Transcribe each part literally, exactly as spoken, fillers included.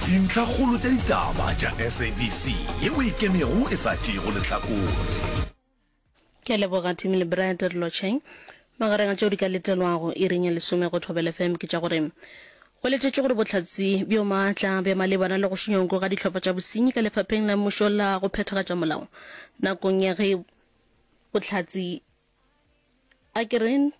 Dintlhakgolo tša ditaba tša S A B C yeo e ikemego e sa tšeego lehlakore. Ke a leboga Timmy le Brad re lotšheng. Magareng a tšeo di ka letelwago iring ya lesome go Thobela F M ke tša gore go letetšwe gore bohlatse bjo maatla bja malebana le go šunya nko ga dihlopha tša bosenyi ka lefapheng la mmušo la go phethagatša molao nakong ya ge bohlatse a ke re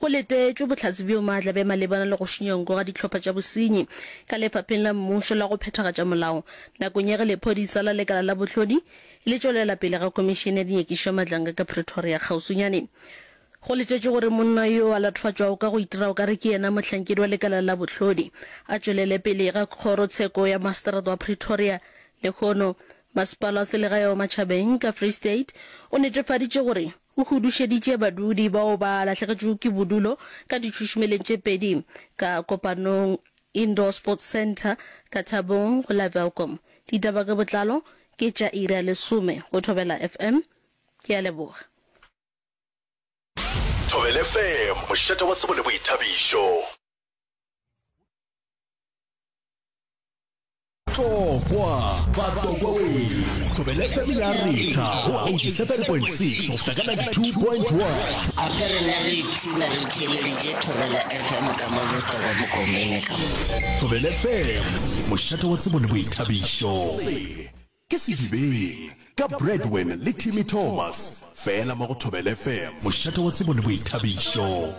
go letetšwe bohlatse bjo maatla bja malebana le go šunya nko ga dihlopha tša bosenyi ka lefapheng la mmušo la go phethagatša molao nakong ya ge lephodisa la lekala la bohlodi le tšwelela pele ga komišene ya dinyakišišo ya Madlanga ka Pretoria kgauswinyane. Go letetšwe gore monna yo a latofatšwago ka go itira o ka re ke yena mohlankedi wa lekala la bohlodi a tšwelele pele ga kgorotsheko ya maseterata wa Pretoria lehono. Masepala wa selegae wa Matjhabeng ka Free State o netefaditše gore o hudušeditše badudi bao ba lahlegetšwego ke bodulo ka ditšhušumeleng tše pedi ka Kopanong Indoor Sports Centre ka Thabong go la Welkom. Ditaba ka botlalo ke tša iri ya lesome go Thobela F M. Ke a leboga. Thobela F M, mošate wa tsebo le boithabišo. Tlokwa, Batlokwa wee! Thobela F M ya retha go eighty-seven point six go fihla ka ninety-two point one. A re rena re ipshina re theeleditše Thobela F M ka mo Botlokwa Mokomele ka mo. Thobela F M, mošate wa tsebo le boithabišo. Se ke Sedibeng ka Bradwin le Timmy Thomas, fela mo go Thobela F M, mošate wa tsebo le boithabišo.